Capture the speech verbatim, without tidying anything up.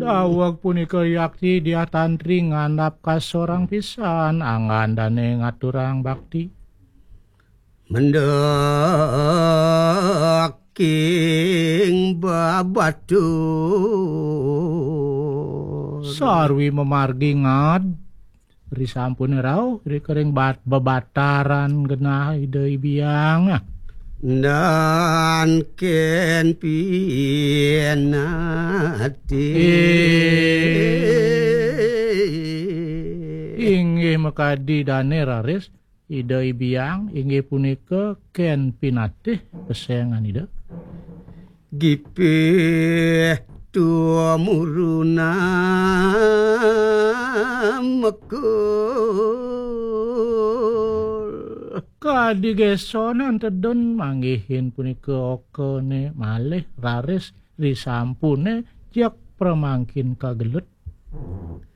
Daweg punika yakti Diah Tantri ngandhap kasorang pisan anggan dane ngaturang bakti. Mendek king babatur. Sarwi memargi ngad, risampune rauh, rikering bat-, bebataran genah Ida Hyang. Dan ken pinati. Inggih makadi dane raris, Ida Hyang inggih punika ken pinatih pesengan Ida. Gipih tumuruna mekul. Kadi gesonan tedun manggihin punika okane malih raris risampune jak pramangkin kagelut.